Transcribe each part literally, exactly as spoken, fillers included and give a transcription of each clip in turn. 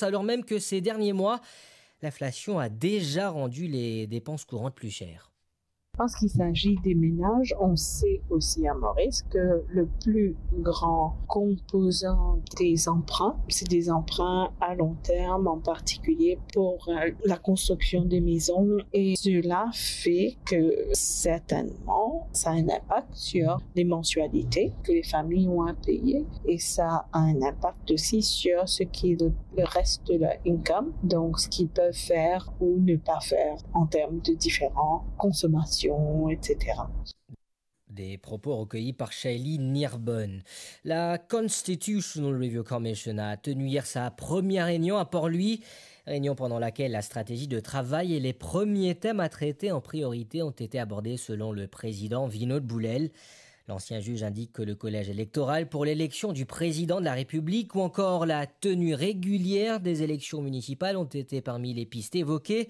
alors même que ces derniers mois, l'inflation a déjà rendu les dépenses courantes plus chères. Parce qu'il s'agit des ménages, on sait aussi à Maurice que le plus grand composant des emprunts, c'est des emprunts à long terme, en particulier pour, euh, la construction des maisons. Et cela fait que certainement, ça a un impact sur les mensualités que les familles ont à payer. Et ça a un impact aussi sur ce qui est le, le reste de leur income, donc ce qu'ils peuvent faire ou ne pas faire en termes de différentes consommations, et cetera. Des propos recueillis par Shaylee Nirbonne. La Constitutional Review Commission a tenu hier sa première réunion à Port-Louis, réunion pendant laquelle la stratégie de travail et les premiers thèmes à traiter en priorité ont été abordés selon le président Vinod Boulel. L'ancien juge indique que le collège électoral pour l'élection du président de la République ou encore la tenue régulière des élections municipales ont été parmi les pistes évoquées.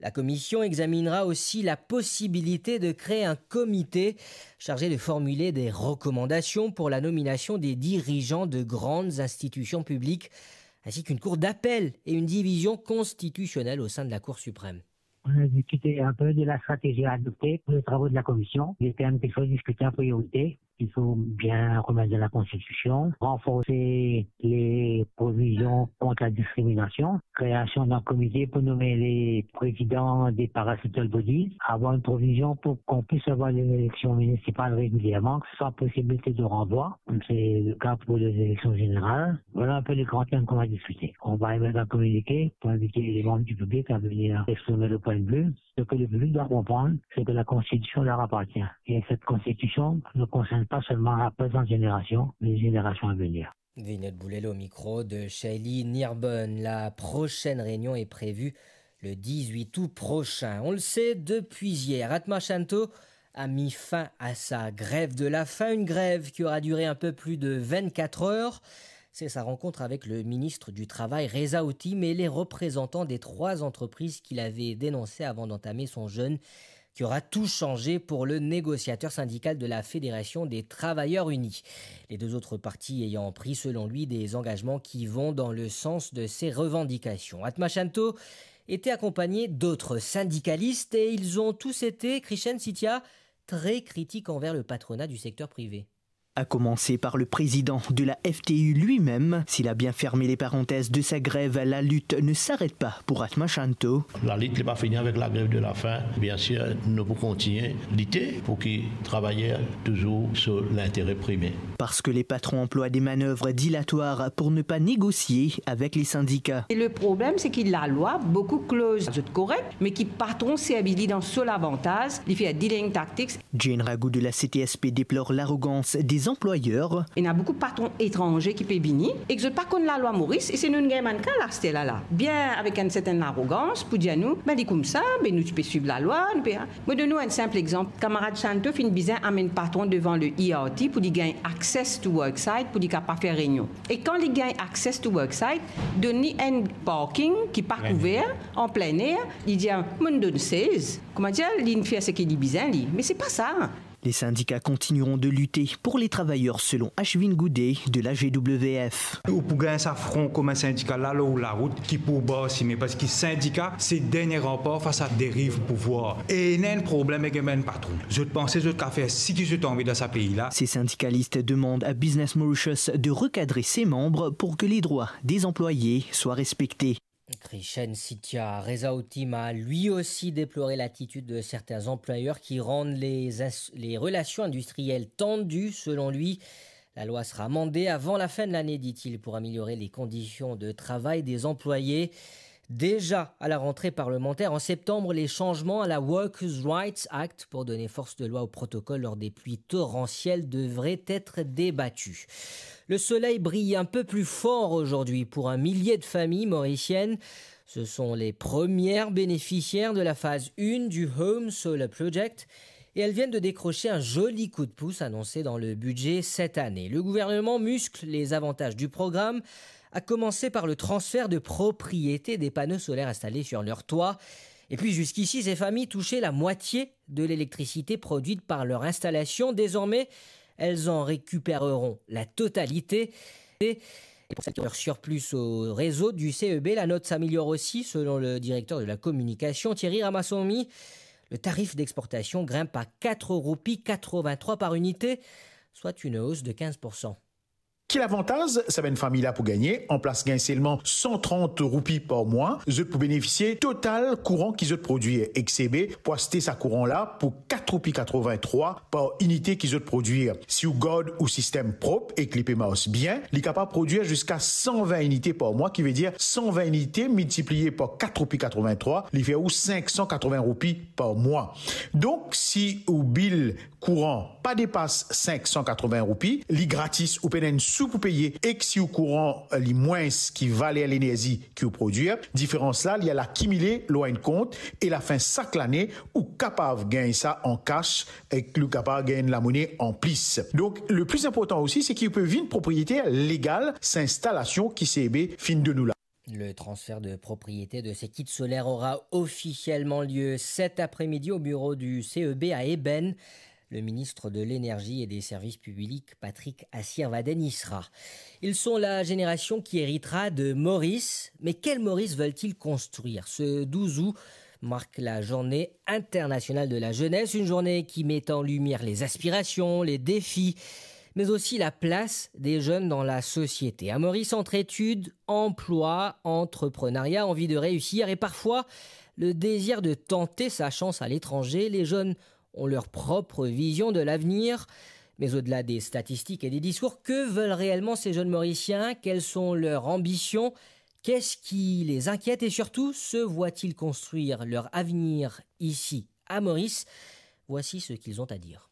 La commission examinera aussi la possibilité de créer un comité chargé de formuler des recommandations pour la nomination des dirigeants de grandes institutions publiques, ainsi qu'une cour d'appel et une division constitutionnelle au sein de la Cour suprême. On a discuté un peu de la stratégie à adopter pour les travaux de la commission, des thèmes qu'il faut discuter en priorité, qu'il faut bien remettre dans la Constitution, renforcer les provisions contre la discrimination, création d'un comité pour nommer les présidents des parastatal bodies, avoir une provision pour qu'on puisse avoir des élections municipales régulièrement, sans possibilité de renvoi, comme c'est le cas pour les élections générales. Voilà un peu les grands thèmes qu'on va discuter. On va émettre un communiqué pour inviter les membres du public à venir exprimer le point de vue. Ce que le public doit comprendre, c'est que la Constitution leur appartient. Et cette Constitution ne concerne pas seulement la présente génération, mais les générations à venir. Vinod Boulel au micro de Shaylee Nirbonne. La prochaine réunion est prévue le dix-huit août prochain. On le sait depuis hier, Atma Shanto a mis fin à sa grève de la faim, une grève qui aura duré un peu plus de vingt-quatre heures. C'est sa rencontre avec le ministre du Travail, Reza Houtim, et les représentants des trois entreprises qu'il avait dénoncées avant d'entamer son jeûne, qui aura tout changé pour le négociateur syndical de la Fédération des Travailleurs Unis. Les deux autres parties ayant pris, selon lui, des engagements qui vont dans le sens de ses revendications. Atma Shanto était accompagné d'autres syndicalistes et ils ont tous été, Krishen Sethia, très critiques envers le patronat du secteur privé. À commencer par le président de la F T U lui-même. S'il a bien fermé les parenthèses de sa grève, la lutte ne s'arrête pas pour Atma Shanto. Lalit li pa fini avek lagrev de lafaim. Biensir, nou pou kontigne lite pou ki travayer touzour so lintere prime. Parce que les patrons emploient des manœuvres dilatoires pour ne pas négocier avec les syndicats. E le problem, se ki lalwa, boukou kloz zot korek, me ki patron servi li dan so lavantaz, li fer dealing tactics. Jane Ragout de la C T S P déplore l'arrogance des employeurs. Ena boukou patron etranze ki pe vini, ek zot pa konn lalwa Moris, e se nou gagn bann ka laster la la. Bien avek enn sertenn larogans pou dir nou, be li koumsa, be nou ti pe swiv lalwa, nou pe... Mo donn ou enn sinp exanp. Kamarad Shanto finn bizin amenn patron devan le E R T pou li gagn access to worksite, pou li kapav fer reynion. E kan li gagn access to worksite, donn li enn parking ki pa kouver, an plin er, li dir, mo donn sez. Kouma dir, li fer seki li bizin li. Me se pa sa. Les syndicats continueront de lutter pour les travailleurs, selon Ashwin Goude de la G W F. Ou pou gagn sa fron komin sindikal la lor larout ki pou bar sime, parski sindika se dernie ranpar fas a deriv pouvwar. E ena enn problem ek bann patron. Zot panse zot kapav fer seki zot anvi dan sa pei la. Ces syndicalistes demandent à Business Mauritius de recadrer ses membres pour que les droits des employés soient respectés. Krishen Sethia. Reza Houtim a lui aussi déploré l'attitude de certains employeurs qui rendent les ins-, les relations industrielles tendues. Selon lui, la loi sera amendée avant la fin de l'année, dit-il, pour améliorer les conditions de travail des employés. Déjà à la rentrée parlementaire en septembre, les changements à la Workers' Rights Act pour donner force de loi au protocole lors des pluies torrentielles devraient être débattus. Le soleil brille un peu plus fort aujourd'hui pour un millier de familles mauriciennes. Ce sont les premières bénéficiaires de la phase un du Home Solar Project et elles viennent de décrocher un joli coup de pouce annoncé dans le budget cette année. Le gouvernement muscle les avantages du programme, à commencer par le transfert de propriété des panneaux solaires installés sur leur toit. Et puis jusqu'ici, ces familles touchaient la moitié de l'électricité produite par leur installation. Désormais, elles en récupéreront la totalité. Et Leur surplus au réseau du C E B, la note s'améliore aussi, selon le directeur de la communication, Thierry Ramaswamy. Le tarif d'exportation grimpe à quatre roupies quatre-vingt-trois par unité, soit une hausse de quinze pour cent. Ki lavantaz sa bann fami la pou gagne? Anplas gagn selman san trant roupi par mwa, zot pou benefisie total kouran ki zot prodwir, ek C E B pou aste sa kouran la pou kat roupi katrovin-trwa par inite ki zot prodwir. Si ou gard ou sistem prop ek li pe mars bien, li kapav prodwir ziska san vin inite par mwa, ki vedir san vin inite miltipliye par kat roupi katrovin-trwa, li fer ou sink san katrovin roupi par mwa. Donk, si ou bil kouran pa depas sink san katrovin roupi, li gratis, ou pena enn sou pou peye, ek si ou kouran, eh, li mwins ki valer lenerzi ki ou prodwir, diferans la, li al akimile lor enn kont, e lafin sak lane, ou kapav gagn sa an kas, ek li kapav gagn lamone an plis. Donk, le pli inportan osi, se ki ou pe vinn propriyeter legal, sa instalasion ki C E B finn donn ou la. Le transfert de propriété de ces kits solaires aura officiellement lieu cet après-midi au bureau du C E B à Ébène. Le ministre de l'Énergie et des Services publics, Patrick Assirvaden, y sera. Ils sont la génération qui héritera de Maurice. Mais quel Maurice veulent-ils construire ? Ce douze août marque la journée internationale de la jeunesse, une journée qui met en lumière les aspirations, les défis, mais aussi la place des jeunes dans la société. À Maurice, entre études, emploi, entrepreneuriat, envie de réussir et parfois le désir de tenter sa chance à l'étranger, les jeunes ont leur propre vision de l'avenir. Mais au-delà des statistiques et des discours, que veulent réellement ces jeunes Mauriciens ? Quelles sont leurs ambitions ? Qu'est-ce qui les inquiète et surtout, se voient-ils construire leur avenir ici, à Maurice ? Voici ce qu'ils ont à dire.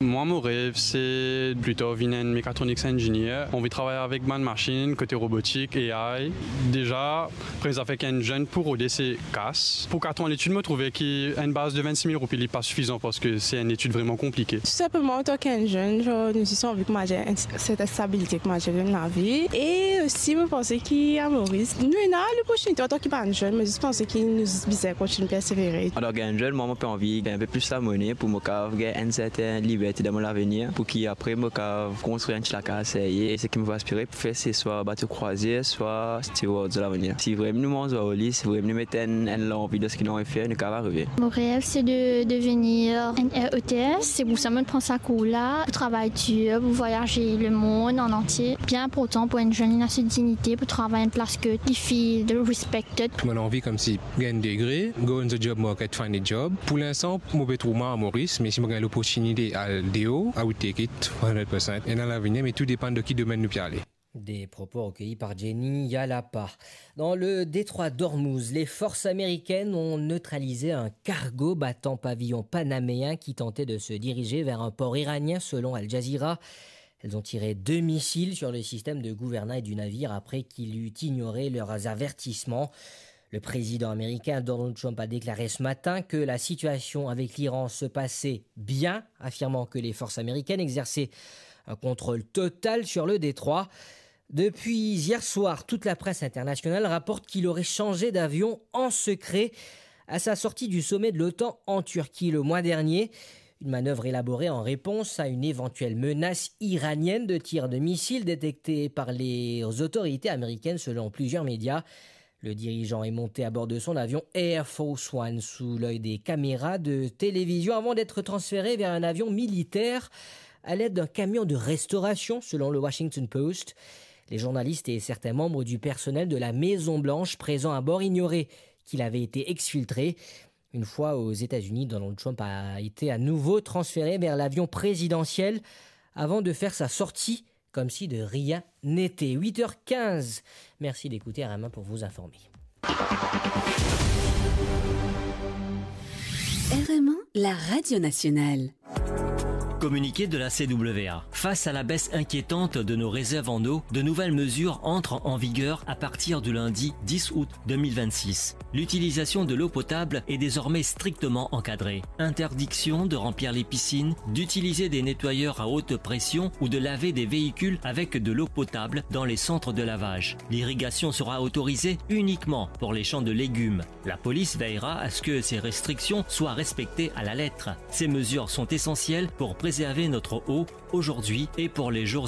Moi, mon rêve, c'est plutôt vinn enn mécatronics engineer. Anvi travay avek bann masinn, kote robotik, A I. Deza, premie zafer ki enn zenn pou rode, se kas. Pou kat an letid, mo trouve ki enn baz de vennsis mil roupi, li pa sifizan, parski se enn letid vreman konplike. Tou sinpleman, antan ki enn zenn, zan, nou zis anvi kouma dir enn sertin stabilite kouma dir dan lavi. E osi, mo panse ki a Moris, nou ena loportinite antan ki bann zenn, mo zis panse ki nou zis bizin kontign persevere. Antan ki enn zenn, mwa, mo pe anvi gagn enn pe plis lamone pou mo kav gagn enn sertin liberte dan mo lavenir, pou ki apre mo kav konstrir enn ti lakaz serye. E seki mo pe aspire pou fer, se swa bato krwazir, swa steward dan lavenir. Si vremem nou manz ar li, si vremem nou met enn, enn lanvi dan seki nou anvi fer, nou kav arive. Mon rêve, c'est de devenir une air hôtesse. C'est pour ça que je prends ce cours-là, pour travailler dur, pour voyager le monde en entier. Bien important pour une jeune, il a sa dignité, pour travailler à une place que il feel respected. Mo anvi koumsi gagn degre, go in the job market, find a job. Pou linstan, mo pe trouv mwa a Moris, me si mo gagn loportinite al deor, I would take it one hundred percent. Ena lavenir, me tou depann de ki domenn nou pe ale. Des propos recueillis par Jenny Yalapa. Dans le détroit d'Ormuz, les forces américaines ont neutralisé un cargo battant pavillon panaméen qui tentait de se diriger vers un port iranien, selon Al Jazeera. Elles ont tiré deux missiles sur le système de gouvernail du navire après qu'il eut ignoré leurs avertissements. Le président américain Donald Trump a déclaré ce matin que la situation avec l'Iran se passait bien, affirmant que les forces américaines exerçaient un contrôle total sur le détroit. Depuis hier soir, toute la presse internationale rapporte qu'il aurait changé d'avion en secret à sa sortie du sommet de l'OTAN en Turquie le mois dernier. Une manœuvre élaborée en réponse à une éventuelle menace iranienne de tir de missiles détectée par les autorités américaines, selon plusieurs médias. Le dirigeant est monté à bord de son avion Air Force One sous l'œil des caméras de télévision avant d'être transféré vers un avion militaire à l'aide d'un camion de restauration, selon le Washington Post. Les journalistes et certains membres du personnel de la Maison Blanche présents à bord ignoraient qu'il avait été exfiltré. Une fois aux États-Unis, Donald Trump a été à nouveau transféré vers l'avion présidentiel avant de faire sa sortie comme si de rien n'était. Huit heures quinze. Merci d'écouter R M un pour vous informer. R M un, la radio nationale. Communiqué de la C W A. Face à la baisse inquiétante de nos réserves en eau, de nouvelles mesures entrent en vigueur à partir du lundi dix août deux mille vingt-six. L'utilisation de l'eau potable est désormais strictement encadrée. Interdiction de remplir les piscines, d'utiliser des nettoyeurs à haute pression ou de laver des véhicules avec de l'eau potable dans les centres de lavage. L'irrigation sera autorisée uniquement pour les champs de légumes. La police veillera à ce que ces restrictions soient respectées à la lettre. Ces mesures sont essentielles pour préserver notre eau aujourd'hui et pour les jours à